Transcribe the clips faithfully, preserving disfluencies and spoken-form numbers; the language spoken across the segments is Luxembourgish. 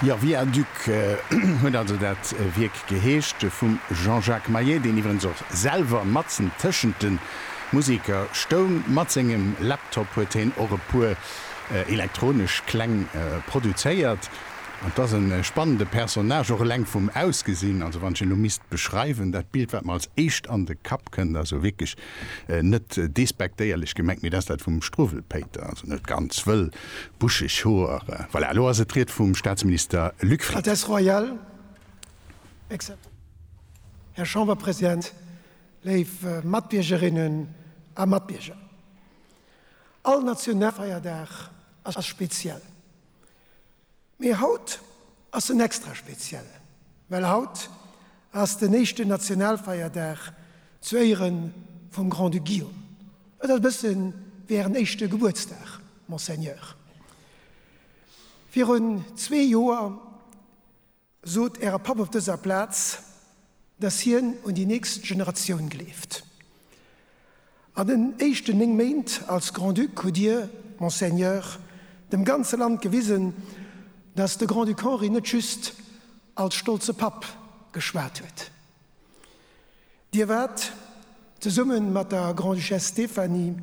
Jo, Viaduc huet also dat Wierk geheescht vum Jean-Jacques Maillet, deen iwwerens och selwer matzen tëschent de Museker stoung. Mat sengem Laptop huet hien och e puer elektronesch Kläng produzéiert. An 't ass e spannende Personnage, och eleng vum Ausgesinn. Also wann ech en elo misst beschreiwen, dat Bild wat mer als éischt an de Kapp kënnt, also wierklech net despektéierlech gemengt, mee dat ass dat vum Struwwelpéiter, also net ganz wëll, buscheg Hoer. Voilà, elo ass et d'Ried vum Staatsminister Luc Frieden. Altesse Royale, Här Chamberpresident, léif Matbiergerinnen a Matbierger, all Nationalfeierdag ass speziell. Mee haut ass en extra speziell, well haut ass den éischten Nationalfeierdag zu Éiere vum Grand-Duc Guillaume. Et ass e bësse wéi Ären éischte Gebuertsdag, Monseigneur. Virun zwee Joer sot Äre Papp op dëser Plaz, dass hien un déi nächst Generatioun gleeft. An den éischten néng Méint als Grand-Duc hutt Dir, Monseigneur, dem ganze Land gewisen, dass de Grand-Duc Henri net just als stolze Papp geschwat huet. Dir waart, zesumme mat der Grande-Duchesse Stéphanie,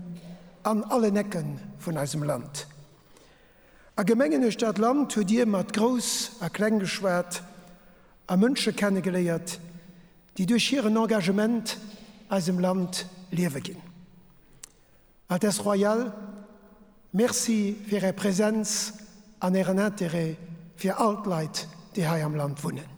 an allen Ecke vun eisem Land. A Gemengen uechter d'Land hutt Dir mat Grouss a Kleng geschwat a Mënsche kennegeléiert, déi duerch hiren Engagement eisem Land Liewe ginn. Altesse Royale, Merci fir Är Präsenz an Ären Interêt fir all d'Leit, déi hei am Land wunnen.